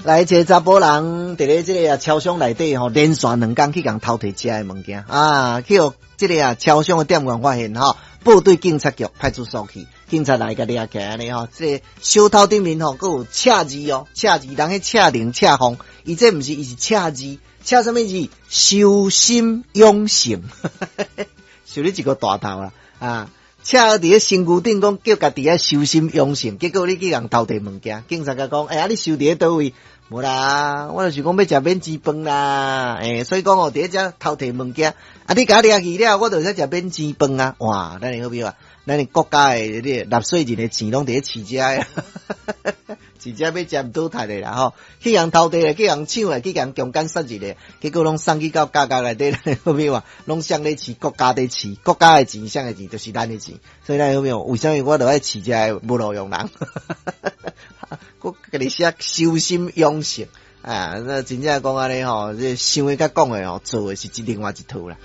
來一個查埔人，佇咧這个啊超商內底吼，連續兩工去共偷提食的物件啊，去予這个啊超商的店員發現吼，報對警察局派出所去，警察來共掠起來按呢吼，這个小偷頂面吼，閣有赤字哦，赤字，人彼赤龍赤鳳，伊這毋是，伊是赤字，赤啥物字？修心養性，收你一個大頭啦啊！赤佇咧身軀頂講叫家己愛修心養性，結果你去共偷提物件，警察共講，欸，啊你收佇咧佗位？無啦，我就是講欲食免錢飯啦，欸，所以講哦，佇咧遮偷提物件，啊，你共我掠去了，我就會使食免錢飯啊！哇，咱的好比話，咱的國家的這個納稅人的錢攏佇咧飼遮的，飼遮欲食毋倒趁的啦吼，去共偷提咧，去共搶咧，去共強姦殺人咧，結果攏送去到監獄內底，好比話，攏誰咧飼？國家咧飼，國家的錢，誰的錢？就是咱的錢。所以咱好比話，為啥物我著愛飼遮的無路用人？閣家己寫修心養性啊！那真正講按呢吼，這想的佮講的吼，做的是另外一套啦。